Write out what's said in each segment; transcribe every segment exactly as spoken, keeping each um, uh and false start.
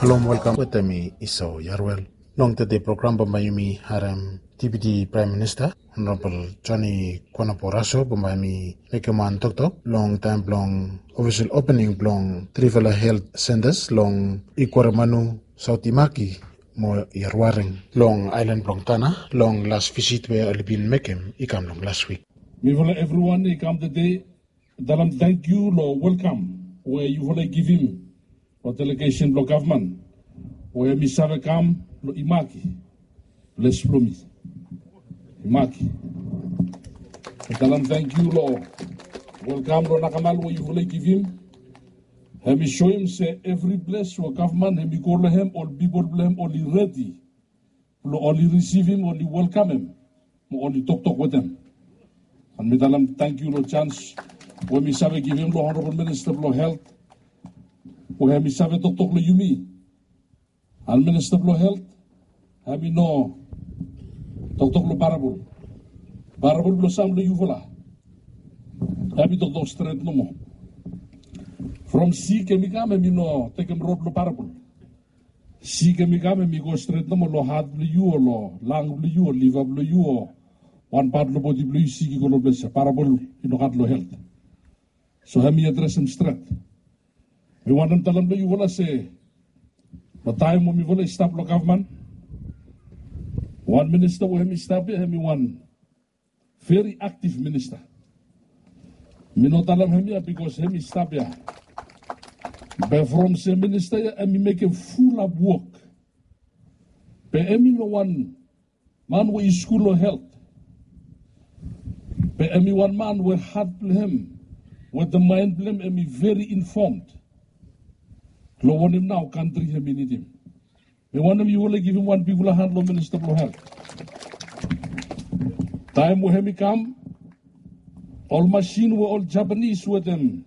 Hello, welkam wetem mi Esau Yarwel. Long tede program bambae yumi harem Deputy Prime Minister Honorable Johnny Kwanapo Raso bambae hemi mekem wan toktok long taem blong ofisol opening blong trifala health centres long Ikwaremanu, Saot Imaki mo Yarwaring long aelan blong Tanna long las visit we oli bin mekem i kam long las wik. Mifala evriwan i kam tede talem tangkiu long welkam we yufala i givim long delegesen blong gavman we hemi save kam long Imaki, ples blong mi. Imaki. Talem tangkiu long welkam long nakamal we yufala i givim. Hemi soem se evri ples we gavman hemi go long hem, ol pipol blong hem oli redi blong oli risivim, oli welkamem mo oli toktok wetem. An mi talem tangkiu long janis we mi save givim long Honorabol Minista blong Helt we hemi save toktok long yumi. An Minista blong Helt hemi no toktok long parabol. Parabol blong sam long yufala hemi toktok stret nomo. From sik hemi kam, hemi no tekem rod blong parabol. Sik hemi kam, hemi go stret nomo long hat blong yu o long lang blong yu o liva blong yu o wan pat long bodi blong yu, sik i go long ples ya. Parabol i no gat long Helt. So hemi adresem stret. Mi wantem talem long yufala se long taem we mifala i stap long gavman, wan minista we hemi stap ya hemi wan veri aktiv minista. Mi no talem hemia bikos hemi stap ya. Be from se minista ya hemi mekem fulap wok. Be hemi no wan man we i skul long Helt. Be hemi wan man we hat blong hem wetem maen blong hem hemi veri infomd long wanem nao kantri hemi nidim. Mi wantem yufala i givim wan bigfala han long Minista blong Helt. Taem we hemi kam, ol masin we ol Japanis wetem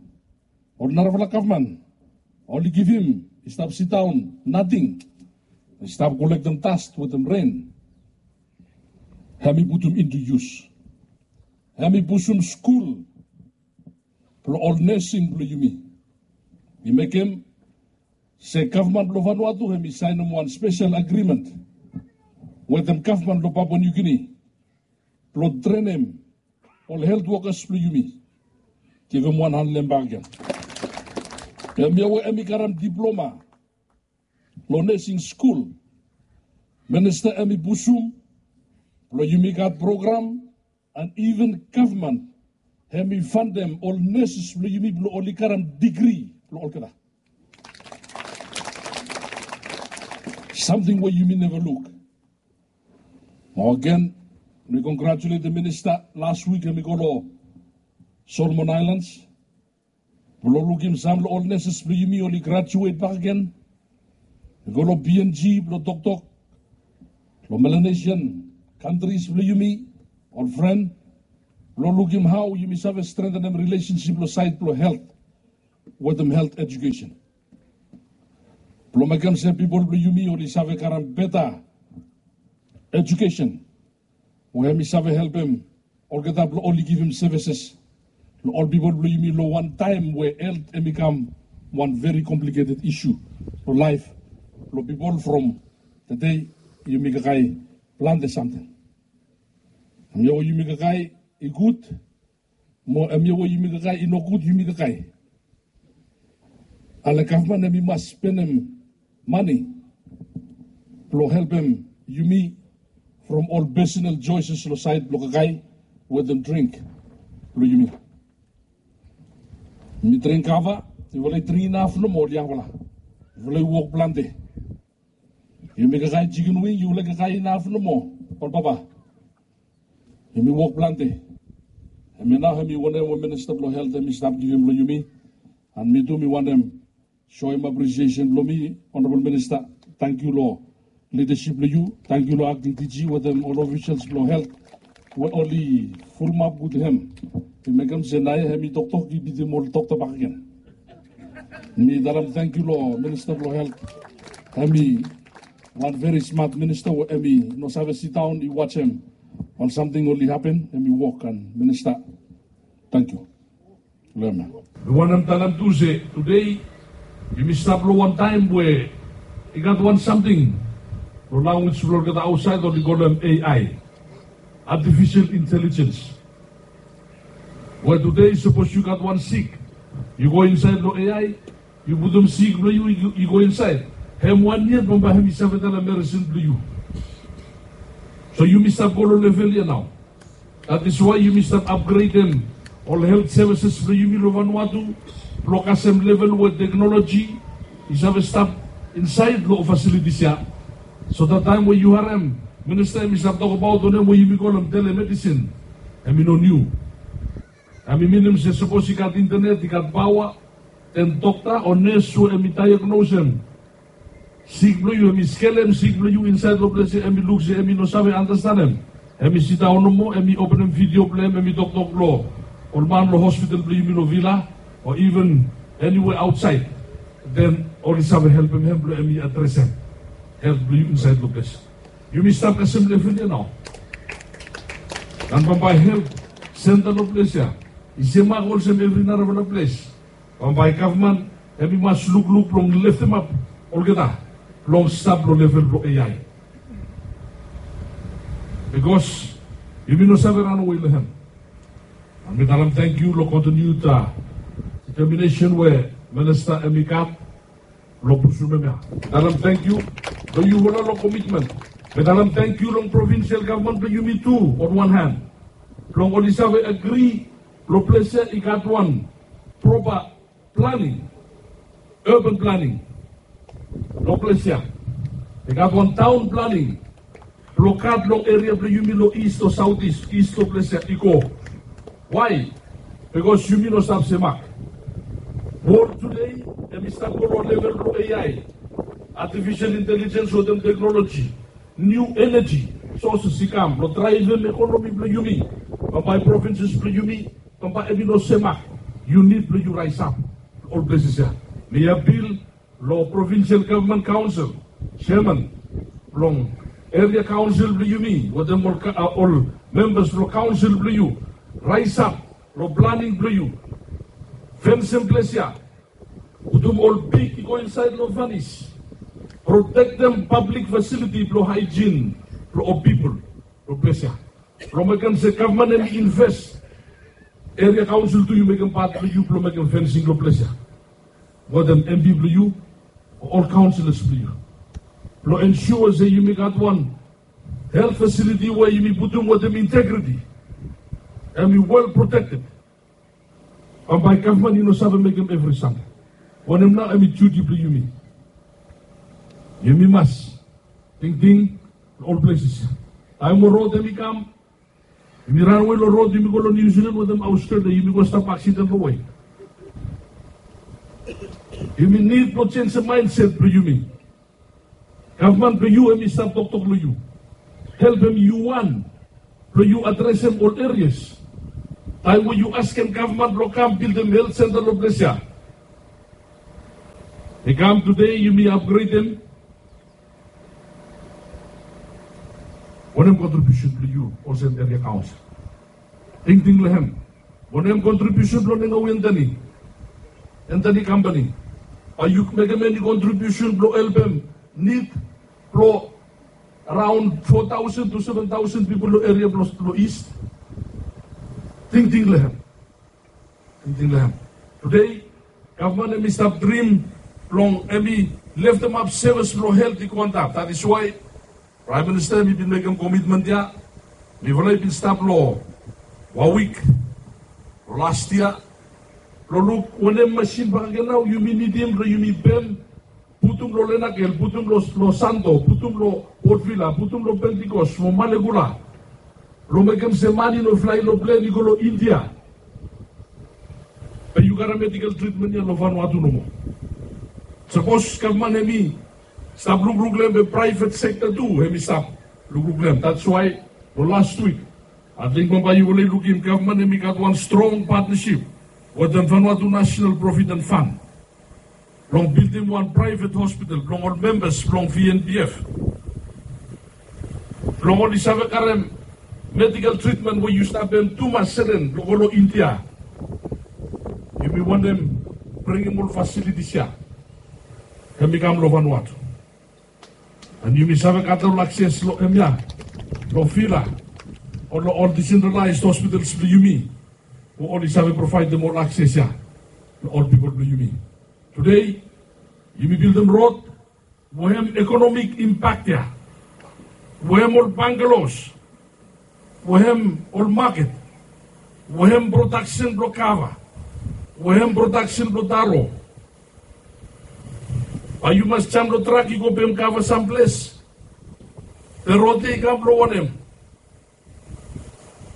ol narafala gavman oli givim i stap sidaon nating, i stap kolektem das wetem ren. Hemi putum into yus. Hemi pusum skul blong ol nesing blong yumi. I mekem se gavman blong Vanuatu hemi saenem wan spesel agrimen wetem gavman blong Papua Niu Gini blong trenem ol helt wokas blong yumi. Givim wan han long hem bakegen. Hemia we hemi karem diploma long nesing skul. Minista hemi pusum blong yumi gat program, an iven gavman hemi fandem ol neses blong yumi blong oli karem digri blong olgeta. Samting we yumi neva luk. Mo agen, mi kongratuletem minista. Las wik hemi go long Solomon Aelans blong lukim sam long ol neses blong yumi oli grajuet bakegen i go long B N G blong toktok long Melanesian kantris blong yumi, ol fren, blong lukim hao yumi save strengtenem rilesensip long saed blong helt wetem helt ejukesen. Blong mekem se pipol blong yumi oli save karem beta ejukesen we hemi save helpem olgeta blong oli givim sevises long ol pipol blong yumi long wan taem we helt hemi kam wan veri kompliketed isu long laef blong pipol. From tede yumi kakae plante samting. Hemia we yumi kakae i gud, mo hemia we yumi kakae i nogud, yumi kakae. Ale gavman hemi mas spenem mane blong helpem yumi from ol pesenal joeses long saed blong kakae wetem dring blong yumi. Yumi dring kava, yufala i dring inaf nomo, ol yangfala. Yufala i wok plante. Yumi kakae jikin wing, yufala i kakae inaf nomo, ol papa. Yumi wok plante. Hemia nao hemi wanem we Minista blong Helt hemi stap givim long yumi. An mi tu mi wantem soem apresiesen blong mi, Honorabol Minista. Tangkiu long lidasip blong yu. Tangkiu long akting D G wetem ol ofisals blong helt we oli fulumap gud hem. I mekem se naoia hemi toktok i bitim ol dokta bakegen. Mi talem tangkiu long Minista blong Helt. Hemi wan veri smat minista we hemi no save sidaon i wajem ol samting oli hapen, hemi wok. An Minista, tangkiu. Mi wantem talem tu se tede yumi stap long wan taem we I gat wan samting long lanwis blong olgeta ausait, oli kolem A I, artificial intelligence. We tude sapos yu gat wan sik, yu go insait long A I, yu putum sik blong yu i go insait, hem wan yet bambae hem i save talem meresin blong yu. So yumi stap go long level ya nao. That is why yumi stap apgredem ol helt sevises blong yumi long Vanuatu blong kasem level we teknoloji i save stap insait long ol fasilitis ya. So that taem we yu harem minista hem i stap tokbaot wanem we yumi kolem telemedicine, hem i no niu. Hem i minim se sapos i gat intenet, i gat paoa, den dokta o nes we hem i daegnosem sik blong yu, hem i skelem sik blong yu insait long ples ya, hem i luk se hem i no save andastanem, hem i sidaon nomo, hem i openem vidio blong hem, hem i toktok long ol man long hospital blong yumi long Vila o iven eniwea ausait, den oli save helpem hem blong hem i adresem helt blong yu insait long ples. Yumi stap kasem level ya nao. An bambae helt senta long ples ya i semak olsem evri narafala ples. Bambae gavman hem i mas lukluk blong leftemap olgeta blong stap long level blong A I. Bikos yumi no save ranawe long hem. An mi talem tangkiu long kontiniued deteminesen we minista hem i gat blong pusum hemia. Mi talem tangkiu long yufala long komitmen. Mi talem tangkiu long provinsel gavman blong yumi tu, on wan han, blong oli save agri blong ples ya i gat wan propa planing, urban planing long ples ya. I gat wan taon planing blong gat long eria blong yumi long ist o saotis, ist long ples ya i go. Wae? Bikos yumi no stap semak. Wol tude hem i stap go long level blong A I, artificial intelligence wetem teknoloji, niu eneji soses i kam blong draevem ekonomi blong yumi. Bambae provinses blong yumi bambae hem i no semak. Yu nid blong yu raesap long ol pleses ya. Mi apil long provinsel gavman kaonsel, seaman blong eria kaonsel blong yumi wetem ol, ol membas blong kaonsel blong yu, raesap long planing blong yu. Fensem ples ya, putum ol pig i go insait long fanis, protektem pablik fasiliti blong haejin blong ol pipol long ples ya. Blong mekem se gavman hem i inves, eria kaonsel tu yu mekem pat blong yu blong mekem fensing long ples ya wetem MP blong yu o ol kaonselas blong yu, blong ensua se yumi gat wan helt fasiliti we yumi putum wetem integriti, hem i wel protekted. Bambae gavman i no save mekem evri samting. Wanem nao hem i duti blong yumi? Yumi mas tingting long ol pleses. Taem we rod hem i kam, yumi ranawe long rod, yumi go long Niu Silan wetem Australia, yumi go stap aksiden long wei. Yumi nid blong jenisim maenset blong yumi. Gavman blong yu hem i stap toktok long yu. Helpem yu wan blong yu adresem ol erias. Taem we yu askem gavman blong kam bildim helt senta long ples ya, i kam tude yumi apgredem. Wanem kontribiusen blong yu olsem eria kaonsel? Tingting long hem. Wanem kontribiusen blong Ngawi Anthony, Anthony Company? Bae yu mekem eni kontribiusen blong helpem nid blong araon fo taosen tu seven taosen pipol long eria blong, blong ist? Tingting long hem. Tingting long hem. Tude gavman hem i stap drim blong hem i leftemap sevis blong helt i go antap. That is why Praem Minista hem i bin mekem komitmen ya. Mifala i bin stap long wan wik long las yia blong luk wanem masin bakegen nao yumi nidim blong yumi pem, putum long Lenakel, putum long, long Santo, putum long Port Vila, putum long Pentecost mo Malekula, blong mekem se man i no flae long plen i go long India, be yu karem medical treatment ya long Vanuatu nomo. Sapos gavman hem i stap lukluk long hem, be private sector tu hem i stap lukluk long hem. That's why long last week, ating bambae yufala i lukim gavman hem i gat wan strong partnership wetem Vanuatu National Provident Fund blong bildim wan private hospital blong ol membas blong V N P F, blong oli save karem medical treatment we yu stap pem tumas seren blong go long India. Yumi wantem bringim ol facilities ya hem i kam long Vanuatu. And yumi save gat ol akses long hemia, long Vila, o long ol decentralized hospitals blong yumi, we oli save provaedem ol akses ya long ol pipol blong yumi. Tede yumi bildim rod we hem economic impact ya, we hem ol bungalows, we hem ol maket, we hem prodaksen blong kava, we hem prodaksen blong taro. Bae yu mas jam long trak yu go pem kava samples. Be rod ya i kam blong wanem?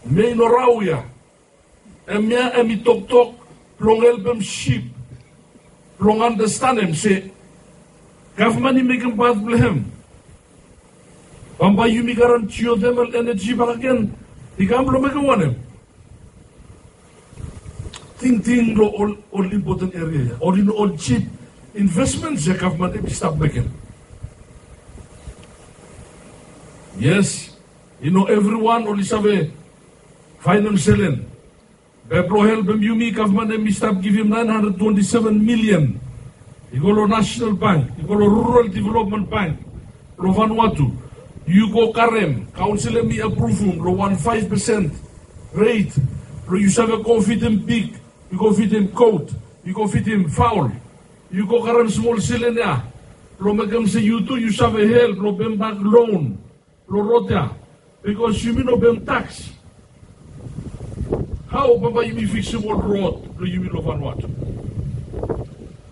Mei no rao ya. Hemia hemi toktok blong helpem sif blong andastanem se gavman i mekem pat blong hem. Bambae yumi garem geothermal energy bakegen i kam blong mekem wanem? Tingting long ol, ol impoten eria ya, ol, ol jip investments ya gavman hemi stap mekem. Yes, i no evriwan oli save faenem selen. Be blong helpem yumi, gavman hemi stap givim nine hundred twenty-seven million i go long National Bank, i go long Rural Development Bank blong Vanuatu. Yu go karem, kaonsel hemi apruvum long wan five percent rate blong yu save go fidim pig, yu go fidim goat, yu go fidim faol. Yu go karem smol selen ya blong mekem se yu tu yu save help long pembak loan blong rod ya, bikos yumi no pem taks. Hao bambae yumi fiksim ol rod blong yumi long Vanuatu?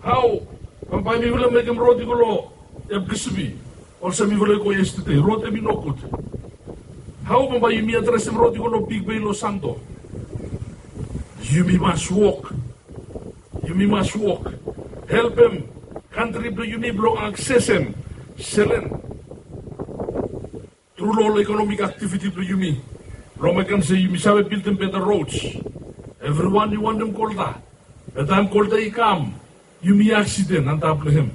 Hao bambae mifala mekem rod i go long Epkesibi, olsem mifala i go yestede, rod hemi nogud? Hao bambae yumi adresem rod i go long Bigbei long Santo? Yumi mas wok. Yumi mas wok. Helpem kantri blong yumi blong aksesem selen tru long ol economic activity blong yumi, blong mekem se yumi save bildim beta roads. Evriwan i wantem kolta, be taem kolta i kam, yumi aksiden antap long hem.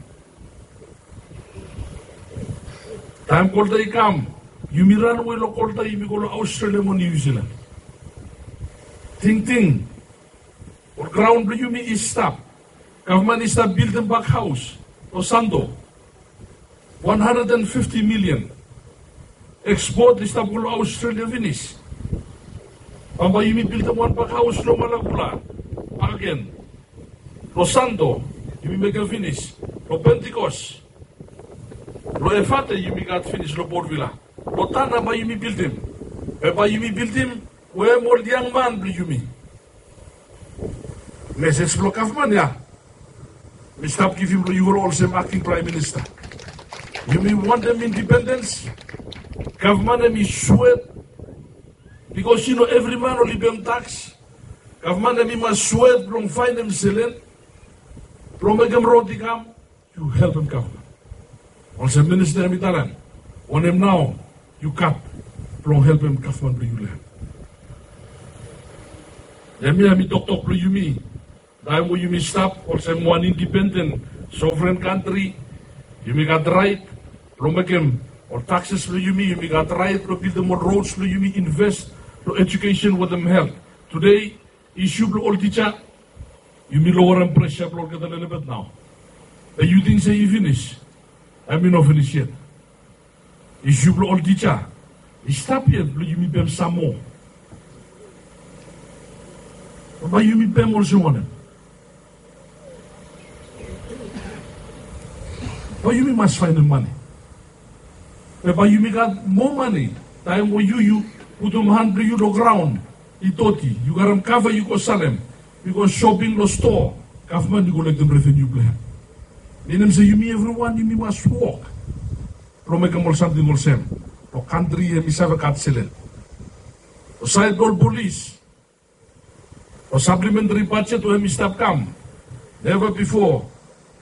Taem kolta i kam, yumi ranwe long kolta, yumi go long Australia mo New Zealand. Tingting, ol graon blong yumi i stap. Gavman i stap bildim bak haos long Santo. Wan handred and fifti milian. Ekspot i stap go long Australia finis. Bambae yumi bildim wan bak haos long Malakula bakegen. Long Santo yumi mekem finis. Long Pentecost, long Efate yumi gat finis, long Port Vila. Long Tanna bae yumi bildim. Be bae yumi bildim wetem ol yangman blong yumi. Mesej blong gavman ya mi stap givim long yufala olsem akting praem minista. Yumi wantem indipendens. Gavman hemi swet, bikos i no evri man oli pem taks. Gavman hemi mas swet blong faenem selen blong mekem rod i kam. Yu helpem gavman. Olsem minista hemi talem, wanem nao yu gat blong helpem gavman blong yu long hem? Hemia hemi toktok blong yumi. Taem we yumi stap olsem wan indipenden sovren kantri, yumi gat raet blong mekem ol takses blong yumi, yumi gat raet blong bildim ol rods blong yumi, inves long ejukesen wetem helt. Tede, isu blong ol tija, yumi lowerem presa blong olgeta lelebet nao. Be yu ting se i finis? Hemi no finis yet. Isu blong ol tija i stap yet blong yumi pem sam moa. Bae yumi pem olsem wanem? Bae yumi mas faenem mane. Be bae yumi gat moa mane taem we yu, yu putum han blong yu long graon i doti, yu karem kava yu go salem, yu go soping long stoa, gavman i kolektem reveniu blong hem. Minim se yumi evriwan yumi mas wok blong mekem ol samting olsem blong kantri hemi save gat selen. Long saed blong ol polis, long saplementari bajet we hemi stap kam, neva bifo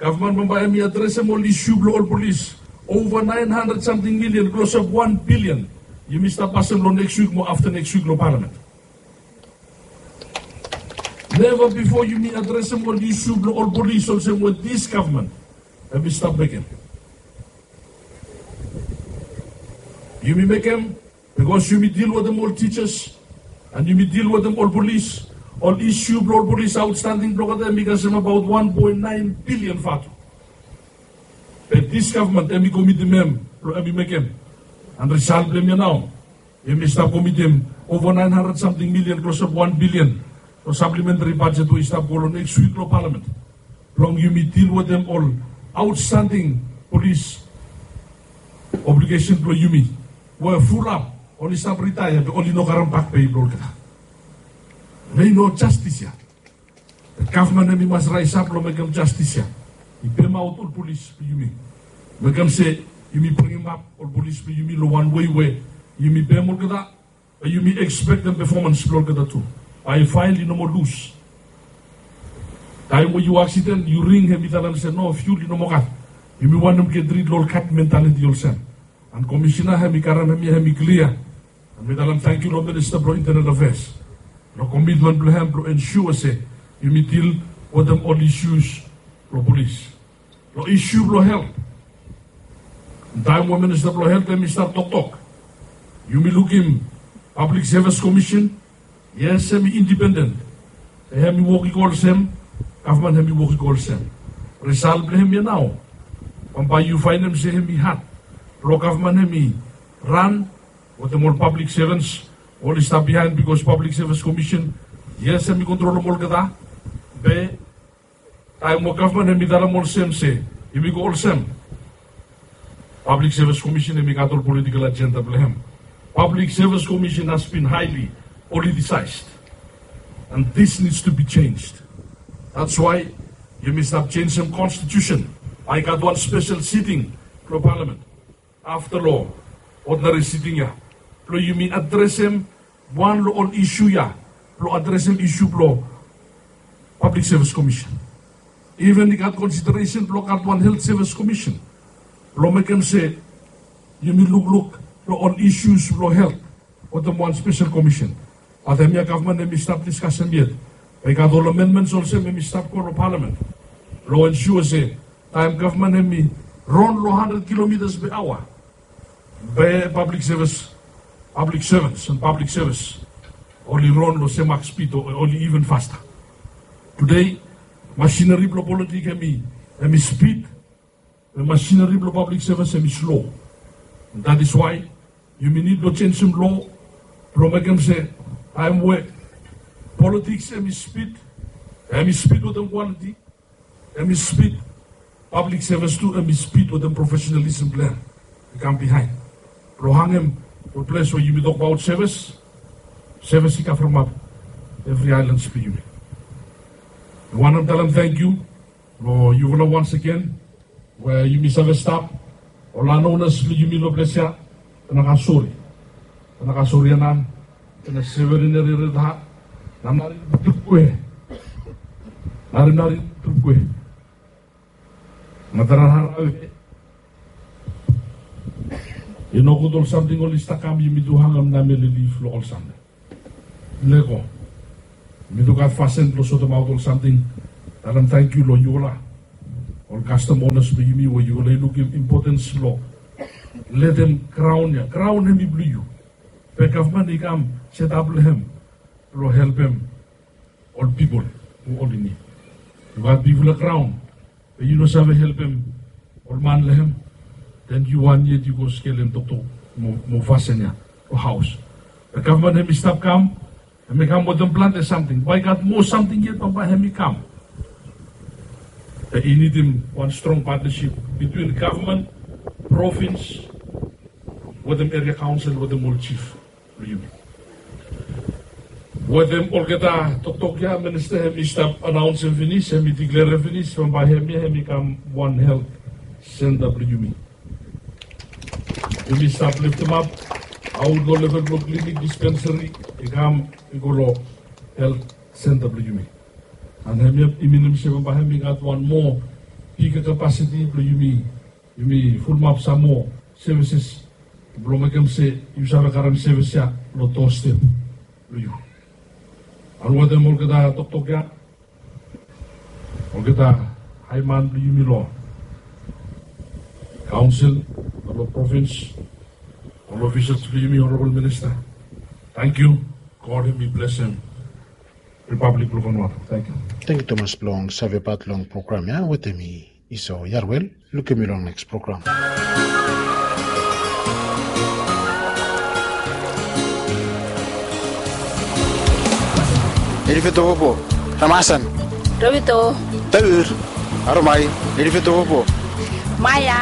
gavman bambae hemi adresem ol isu blong ol polis. Ova naen handred samting milian, klosap wan bilian, yumi stap pasem long neks wik mo afta neks wik long palamen. Neva bifo yumi adresem ol isu blong ol polis olsem we dis gavman hemi stap mekem. Yumi mekem bikos yumi dil wetem ol tijas, and yumi dil wetem ol polis. Ol isu blong ol polis aotstanding blong olgeta hemi kasem abaot wan poen naen bilian vatu. Be dis gavman hemi komitim hem blong hem i mekem. And result blong hem ya nao, hem i stap komitim ova naen handred samting milian, klosap wan bilian, long saplementari bajet we i stap go long next wik long palamen blong yumi dil wetem ol aotstanding polis obligesen blong yumi we fulap oli stap ritaea be oli no karem bakpei blong olgeta. Nao i no jastis ya. Gavman hem i mas raesap long mekem jastis ya. I pemaot ol polis blong yumi. Mekem se yumi bringimap ol polis blong yumi long wan wei we yumi pem olgeta, be yumi ekspektem pefomans blong olgeta tu. Bae fael i no moa lus. Taem we yu aksiden, yu ring, hem i talem se no, fiul i no moa gat. Yumi wantem get rid long ol gat mentaliti olsem. And Komisena hem i karem hemia, hem i klia. And mi talem tangkiu long Minista blong Internal Affairs long komitmen blong hem blong ensua se yumi dil wetem ol isius blong polis. Long isiu blong helt, taem we Minista blong Helt hem i stap toktok, yumi lukim Pablik Sevis Komisen, yes, hem i indipenden. Be hem i wok i go olsem, gavman hem i wok i go olsem. Risal blong hem ya nao, bambae yu faenem se hem i had blong gavman hem i ran wetem ol pablik sevens oli stap biaen, bikos Pablik Sevis Komisen, yes, hem i kontrolem olgeta. Be taem we gavman hem i talem olsem se yumi go olsem, Pablik Sevis Komisen hem i gat ol politikel ajenda blong hem. Pablik Sevis Komisen has bin haeli politisaes, and this needs to be changed. That's why yumi stap jenisem konstitusen. Bae i gat wan spesel siting blong palamen afta long odinari siting ya blong yumi adresem wan long ol isiu ya, blong adresem isiu blong Pablik Sevis Komisen. Iven i gat konsideresen blong gat wan Helt Sevis Komisen blong mekem se yumi lukluk long ol isius blong helt wetem wan spesel komisen. Bat hemia gavman hem i stap diskasem yet. Be i gat ol amenmens olsem hem i stap go long palamen blong ensua se taem gavman hem i ron long handred kilomitas pe aoa, be pablik sevis, pablik sevens and pablik sevis oli ron long semak spid o oli iven fasta. Tudei masineri blong politik hem i, hem i spid, be masineri blong pablik sevis hem i slo. And that is why yumi nid blong jenisim loa blong mekem se taem we politiks hem i spid, hem i spid wetem kwaliti, hem i spid, pablik sevis tu hem i spid wetem profesenalisem blong hem i kam biaen blong hangem long ples we yumi tokbaot sevis, sevis i kavremap evri aelans blong yumi. Mi wantem talem tangkiu long yufala once again we yumi save stap, ol lanounas blong yumi long ples ya, Tanakasori, Tanakasori Anan, Tena Severineri Reta, Namnari Trukwe, Narinari Trukwe, Matara Harawe. I nogud ol samting oli stap kam, yumi tu hangem namele lif long ol samting. Lego. Yumi tu gat fasin blong sotemaot ol samting. Talem tangkiu long yufala ol kastom onas blong yumi we yufala i lukim impotens blong letem graon ya, graon hem i blong yu. Be gavman i kam setap long hem blong helpem ol pipol we oli nid. Yu gat bigfala graon be yu no save helpem ol man long hem, den yu wan yet yu go skelem toktok mo, mo fasin ya long haos. Be gavman hem i stap kam, hem i kam wetem plante samting. Bae i gat moa samting yet bambae hem i kam. Be i nidim wan strong patnasip bitwin gavman, provins, wetem eria kaonsel, wetem ol jif blong yumi. Wetem olgeta toktok ya, minista hem i stap anaonsem finis, hem i diklerem finis, bambae hemia hem i kam wan helt senta blong yumi. Yumi stap leftemap aot long level blong klinik, dispenseri, i kam i go long helt senta blong yumi. And hemia i minim se bambae hem i gat wan moa bigger capacity blong yumi, yumi fulumap sam moa services blong mekem se yu save karem sevis ya long doastep blong yu. And wetem olgeta toktok ya, olgeta haeman blong yumi long kaonsel, long provins, ol ofisas blong yumi, honorabol minista, tangkiu. God hem i blesem Ripablik blong Vanuatu. Tangkiu. Tangkiu tumas blong savepat long program ya wetem mi, Iso Yarwel. Lukim yu long neks program. Nirifetopopo. Ramasan. Rovito. Taur. Aromai. Nirifetopopo. Maya.